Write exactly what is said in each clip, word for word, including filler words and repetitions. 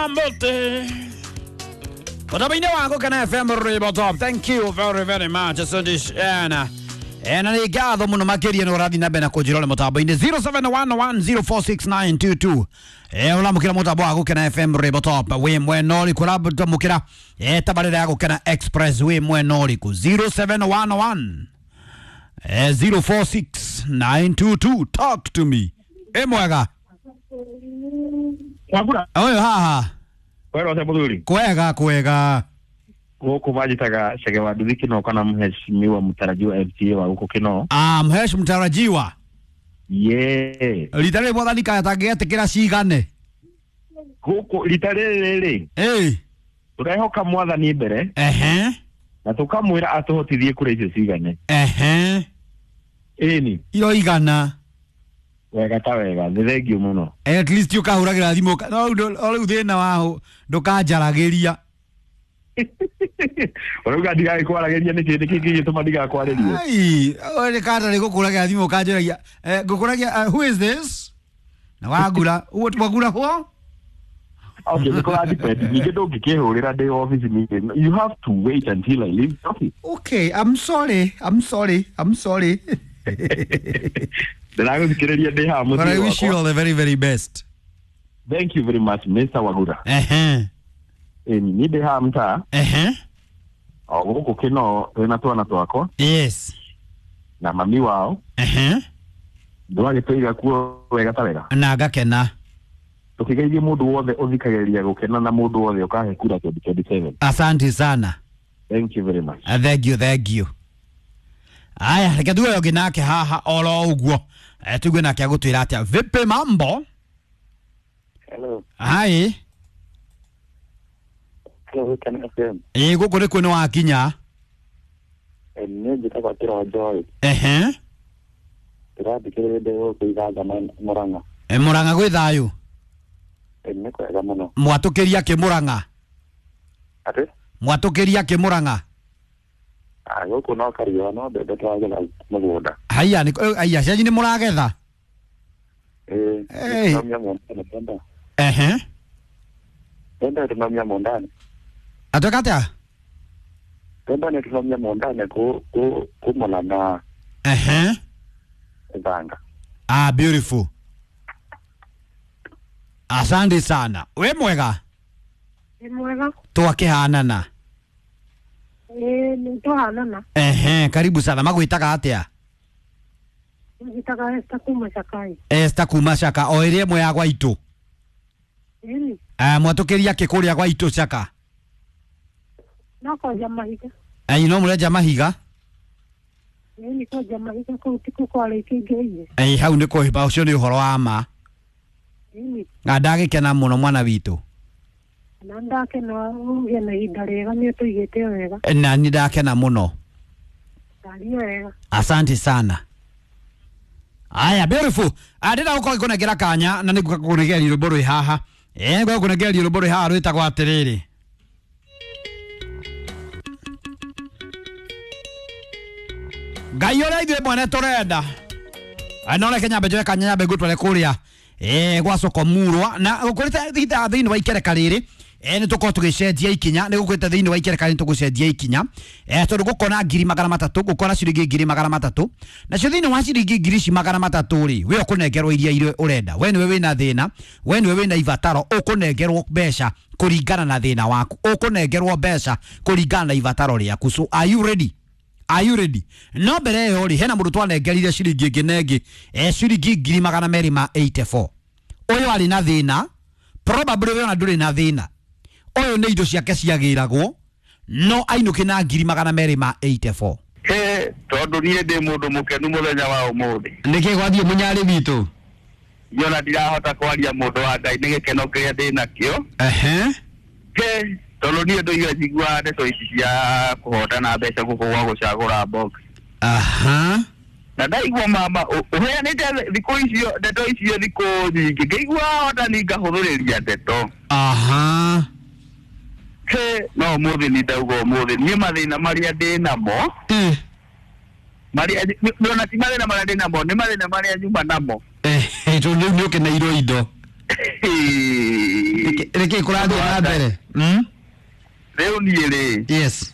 Mote. Mutambo-inĩ wa Gũkena F M Rwĩmbo Top. Thank you very very much. Asante sana. Eh, na nĩ ngatho mũno makĩria nĩ ũrathiĩ na mbere na kũnjĩrora mũtambo-inĩ zero seven one one zero four six nine two two. Eh, ũramũkĩra mũtambo wa Gũkena F M Rwĩmbo Top wĩ mwena ũrĩkũ? Ũramũkĩra eh, tabarĩra ya Gũkena Express wĩ mwena ũrĩkũ? zero seven one one eh, zero four six nine two two. Talk to me. Ĩ mwega. Wagura. Ũyũ haha. Wero se muthuri. Kwega kwega. Gũkũ manjĩtaga Chege wa Nduthi Kĩno kana mheshimiwa mtarajiwa M C A wa gũkũ Kĩno. Ah, mhesh mtarajiwa. Yeah. Rita rĩrĩ mwathani kaya tangĩetĩkĩra cigane. Gũkũ rita rĩrĩ rĩ. Ĩĩ. Tũrehoka mwathani mbere. Ehe. Na tũkamwĩra atũhotithie kũrĩa icio cigane. Ehe. Ĩni. Iro igana. Wega ta wega, nĩ thengiũ mũno. At least ũkahũragĩra thimũ no rĩu thĩna wa ndũkanjaragĩria. Ũrauga ndigagĩkwaragĩria nĩkĩ? Nĩkĩ kĩngĩtũma ndigakwarĩrie? Ai, nĩ kanda nĩ gũkũragĩra thimũ ũkanjũragia, ngũkũragia, who is this? Na wagura, wagura ho? Okay, nĩ kũra depend. Ningĩ ndũngĩkĩhũrĩra ndĩ office ningĩ. You have to wait until I leave the office. Okay, I'm sorry, I'm sorry, I'm sorry. Ndĩragũthikĩrĩria ndĩ haha mũciĩ But I wish you wakwa. all the very, very best. Thank you very much, Mister Wagura. Ehe. Ĩni, niĩ ndĩ haha mtaa. Ehe. O gũkũ Kĩno twĩna twana twakwa. Yes. Na mami wao. Ehe. Ndwagĩtũiga kuo wega ta wega. Na ngakena. Tũkĩgeithie mũndũ wothe ũthikagĩrĩria Gũkena na mũndũ wothe ũkahe kura twenty twenty-seven. Asante sana. Thank you very much. Uh, thank you, thank you. Aya, reke tuwe ũngĩ nake haha oro ũguo. Eh, tuigue nake agũtwĩra atĩa. Vipi mambo? Hello. Hi. Hello, Gũkena F M. Ĩ gũkũ nĩkuo nĩ wakinya. Eh, niĩ njĩtagwo Kĩronjo. Ehe. Ndĩrathikĩrĩria ndĩ gũkũ Ithanga Mũrang'a. E, Mũrang'a gwĩ thayũ? Eh, nĩ kwega mũno. Mwatũkĩria kĩ Mũrang'a? Atĩ? Mwatũkĩria kĩ Mũrang'a? Ah, gũkũ no kariũa no mbembe tũragetha mũgũnda. Haiya, nĩ haiya, cianyu nĩ mũragetha? Ĩĩ, Hey. nĩtũraumia mũndani mbembe. Ehe. Mbembe tũraumia mũndani. Atwĩka atĩa? Mbembe nĩ tũraumia mũndani kũ kũ kũmũra na Ehe. Ithanga. Ah, beautiful. Asante sana. We mwega? Nĩ mwega. Twakĩhanana. Ĩĩ, nĩ twahanana. Ehe, karibu sana. Magwĩtaga atĩa? Njĩtaga Esther kuma Cakai. Esther kuma Caka, o ĩrĩa ĩmwe ya gwaitũ. Ĩni. Eh, mwatũkĩria kĩ kũrĩa gwaitũ Caka? No kwenja mahiga. Ai, no mũrenja mahiga? Ĩni, kwenja mahiga kũu ti kũ kwarĩkĩngĩire. Ai, hau nĩ kũhĩba, ũcio nĩ ũhoro wa ma. Ĩni. Na ndagĩkena mũno mwana witũ. Na ndakena ũgĩe na ihinda rĩega, nĩ ũtũigĩte wega. Na nĩ ndakena mũno. Ndaria wega. Asante sana. Aya, beautiful. Ndĩrenda gũkorwo ngĩkũnengera kanya na nĩngũka gũkũnengeria rwĩmbo rwĩ haha. Eh, ngũka gũkũnengeria rwĩmbo rwĩ haha rwĩtagwo atĩrĩrĩ. Ngai ũrĩa ithuĩ mwene tũrenda. No reke nyambe njoe kanya nyambe ngũtware kũrĩa eh gwa soko murwa na gũkũrĩte thitha thĩinĩ wa ikereka rĩrĩ. Eh, nĩ tũkorwo tũgĩcenjia ikinya, nĩ gũkũrĩte thĩinĩ wa ikereka rĩrĩ tũgũcenjia ikinya. Eh, tondũ gũkona ngiri magana matatũ, gũkona ciringi ngiri magana matatũ. Nacio thĩinĩ wa ciringi ngiri ici magana matatũ rĩ, we ũkũnengerwo iria iria ũrenda. We nĩwe wĩna thĩna, we nĩwe wĩna ibataro, ũkũnengerwo mbeca kũringana na thĩna waku, ũkũnengerwo mbeca kũringana na ibataro rĩaku. So are you ready? Are you ready? No mbere ĩyo rĩ, hena mũndũ twanengerire ciringi ĩngĩ na ĩngĩ, eh, ciringi ngiri magana merĩ ma eighty-four. Ũyũ arĩ na thĩna, probably we ona ndũrĩ na thĩna. Ũyũ nĩ indo ciake ciagĩragwo, no ainũke na ngiri magana merĩ ma eighty-four. He, tondũ niĩ ndĩ mũndũ mũkenu mũthenya wa ũmũthĩ. Nĩkĩ gwathiĩ mũnyarĩ witũ? Niĩ ona ndirahota kwaria mũndũ wa Ngai nĩ gĩkeno kĩrĩa ndĩ nakĩo. Ehe. He, tondũ niĩ ndũire njiguaga ndeto ici cia kũhotana mbeca gũkũ gwa gũcagũra box. Aha. Na ndaigua mama ũheanĩte thikũ icio ndeto icio thikũ nyingĩ, ngĩigua hotani ngahũthĩrĩria ndeto. Aha. He, no ũmũthĩ nĩ ndauga ũmũthĩ niĩ mathĩna marĩa ndĩ namo, Eh. marĩa ona ti mathĩna marĩa ndĩ namo, nĩ mathĩna marĩa nyuma namo. Eh, tondũ rĩu nĩ ũkeneirwo indo. Nĩkĩĩ kũrathiĩ na mbere? Mm? Rĩu niĩ rĩ, Yes.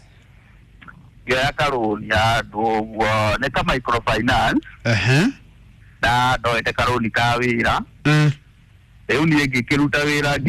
ngĩoya karũni handũ ũguo nĩ ka microfinance, Ehe. na ndoete karũni ka wĩra. Mm. Rĩu niĩ ngĩkĩruta wĩra ngĩruta.